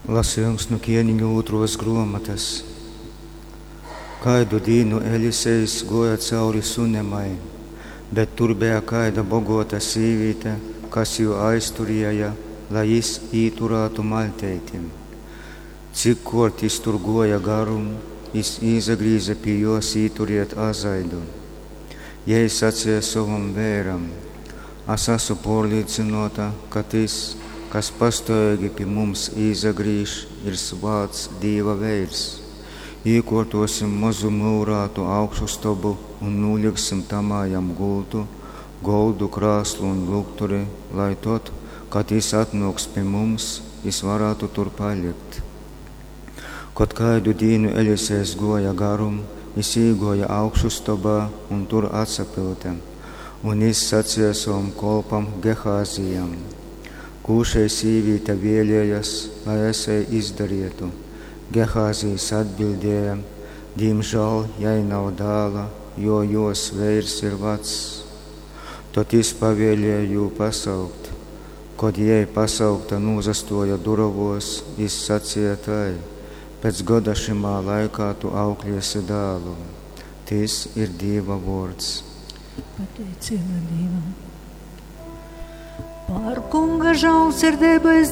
Lasejums nu Kēniņu ūtruos gruomotys. Kaidu dīnu Elisejs guoja cauri Sunemai, bet tur beja kaida boguota sīvīte, kas jū aizturēja, lai jis īturātu maļteiti. Cikkuort jis tur guoja garum, jis īsagrīze pi juos īturiet azaidu. Jei saceja sovam veiram, As asu puorlīcynuota, ka tys, kas pastuoveigi pi mums īsagrīž, ir svāts Dīva veirs. Īkuortuosim mozu myurātu augšustobu un nūliksim tamā jam gultu, goldu, krāslu un lukturi, lai tod, kad jis atnuoks pi mums, jis varātu tur palikt. Kod kaidu dīnu Elisejs guoja garum, jis īguoja augšustobā un tur atsapyute. Un jis saceja sovam kolpam Gehāzijam: Kū šei sīvīte vēlējas, lai es jai izdarietu? Gehāzijs atbildēja: Dīmžāl jai nav dāla, jo juos veirs ir vacs. Tod jis pavēlēja jū pasaukt. Kod jei pasaukta nūsastuoja durovuos, jis saceja tai: Pēc goda šymā laikā tu aukliesi dālu. Tys ir Dīva vuords. Pateiceiba Dīvam. Par Kunga žālsirdeibu es.